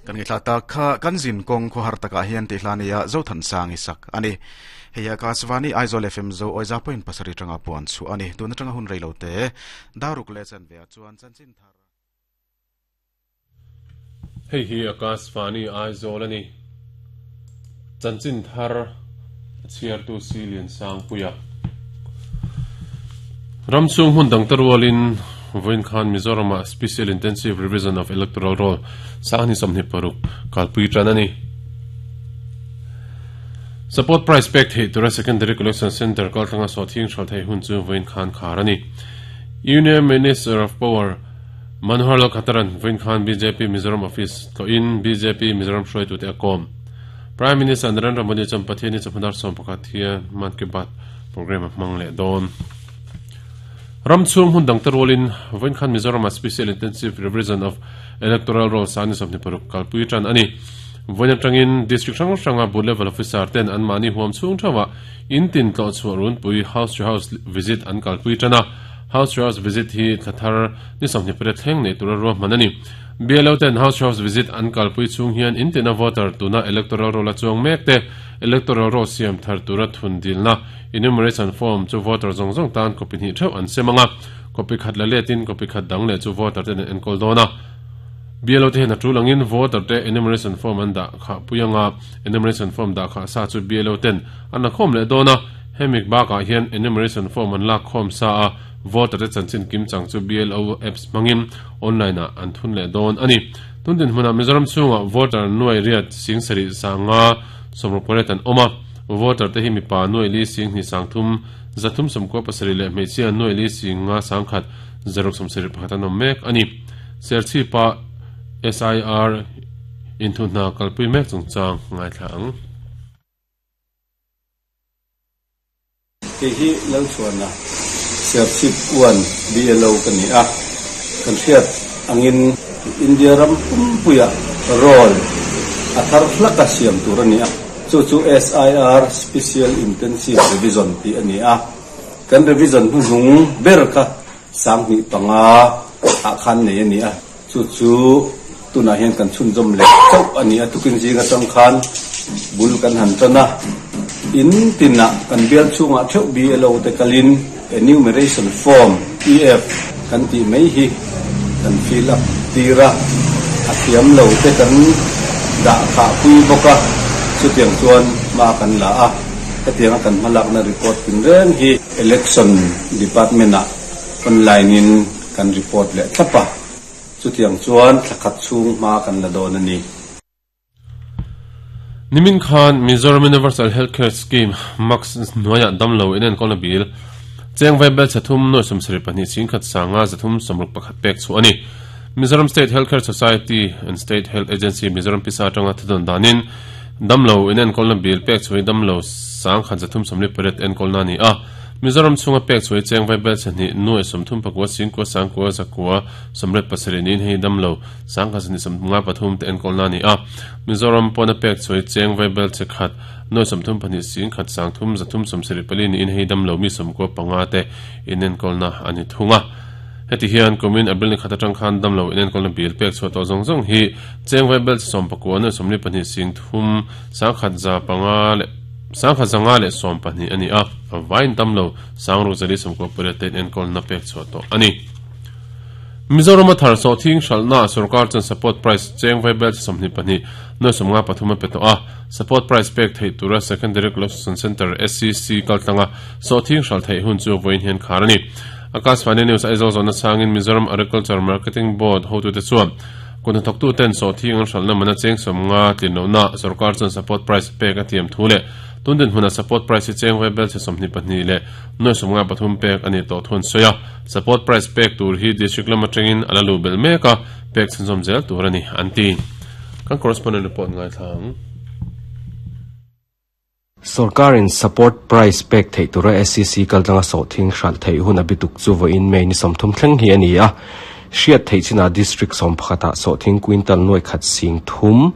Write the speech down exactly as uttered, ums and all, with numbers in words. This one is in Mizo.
Kan ngi thla ta kha kan zin kong kho har taka hian ti hlania zo than sang isak ani. Heya ka swani Aizawl F M zo oiza point pasari tanga puan chu ani. Tuna tanga hun reilo te daruk le chan ve chuan chan chin thar. Hei hi Akashvani Aizawl ani. Chanchin thar chiar tu silian sang puya. Ramsung hun dang tarwalin Voin Khan Mizoram Special Intensive Revision of Electoral Roll sangni somni paruk kalpui tranani. Support price pek thei tura Secondary Collection Center kaltanga sothing shal thei hun chu Voin Khan kharani. Union Minister of Power Manohar Lal Khattaran Voin Khan B J P Mizoram Office to in B J P Mizoram shroi tu te akom. Prime Minister Narendra Modi champatheni chaphandar som pakhathia Man Ki Baat program mangle don. Ramchung hun dang tarwalin Voin Khan Mizoram Special Intensive Revision of Electoral Roll sani somni paruk kalpui tran ani. Voin atangin district hrang hranga booth level officer ten an mani huam chung thawa in tin tlo chuarun pui house to house visit an kalpui trana. House to house visit hi thathar ni somni pare thleng nei tura ro manani. B L O ten house to house visit an kalpui chung hian in tina voter tuna electoral roll a chuang mek te electoral roll siam thar tura thun dilna enumeration form chu voter zong zong tan copy ni theu an semanga copy khat la letin copy khat dang le chu voter ten en kol dona. B L O te na tulangin voter te enumeration form an da kha puyanga enumeration form da kha sa chu B L O ten an khom le dona. Hemik ba ka hian enumeration form an la khom sa a voter te chanchin kim chang chu B L O apps mangin online a an thun le don ani. Tundin hmuna Mizoram chunga voter nuai riat sing sari sanga somroporet an oma voter te hi mi pa nuai li sing ni sang thum zathum somko pasari le mechia nuai li singa sangkhat zarok somsari pakhatan mek ani. Serchi pa S I R inthu na kalpui mek chungchang ngai thlang. Ke hi lo chuana Serchip one B L O kan ni a kan hriat angin India ram pumpuya roll athar hlaka siam tur ani a chu chu S I R Special Intensive Revision ti ani a kan revision hu nung ber kha sang ni panga a khan nei ani a chu chu tuna hian kan chun jom le chau ani a tukin zinga tang khan bul kan han tana in tina kan bel chunga theu B L O te kalin enumeration form E F kan ti mai hi kan fill up tira athiam lo te kan da kha pui boka chu tiang chuan ma kan la a hetiang kan malak na report tin reng hi election department a online in kan report le thlapa chu tiang chuan thlakhat chung ma kan la don ani. Nimin Khan Mizoram Universal Healthcare Scheme Max noya damlo inen kolna bil cheng vai bel chathum noi somsari pahnih chingkhat sanga zathum somruk pakhat pek chu ani. Mizoram State Healthcare Society and State Health Agency Mizoram pisa tanga thudon danin damlo inen kolna bil pek chui damlo sang khat zathum somli paret en kolna ni a. Mizoram chunga pek chui cheng vai bel chani noi somthum pakwa singkwa sangkwa zakwa somret pasari nin hei damlo sang khat ni somnga pathum te en kolna ni a. Mizoram pona pek chui cheng vai bel chekhat noi somthum pahnih sing khat sang thum zathum somsari pali ni in hei damlo mi somko panga te inen kolna ani thunga. Heti hian komin abil ni khata tang khan damlo inen kolna bil pek chu to zong zong hi cheng vai bel som pakwa noi somli pahnih sing thum sang khat za panga le sang khat zanga le som pahnih ani a vain damlo sang ru zali somko pare te en kolna pek chu to ani. Mizoram thar so thing shalna sarkar chan support price cheng vai bel somni pahnih noi somnga pathuma peto a support price pek thei tura Secondary Collection Center S C C kaltanga so thing shal thei hun chu voin hian kharani. Akashvani News Aizawl zona sangin Mizoram Agriculture Marketing Board hotu te chuan kun thok tu ten so thing an shalna mana cheng somnga tinno na sarkar chan support price pek a thiam thule tundin huna support price cheng vai bel che somni pahnih le noi somnga pathum pek ani to thun soya support price pek tur hi district lama tengin alalu bel meka pek chunzom zel tur ani anti. Kan correspondent report ngai thang. Sarkarin support price pek thei tura S C C kaltanga so thing hral thei hun abituk chu vo in mei ni somthum thleng hi ani a hriat thei china district som phata so thing quintal noi khat sing thum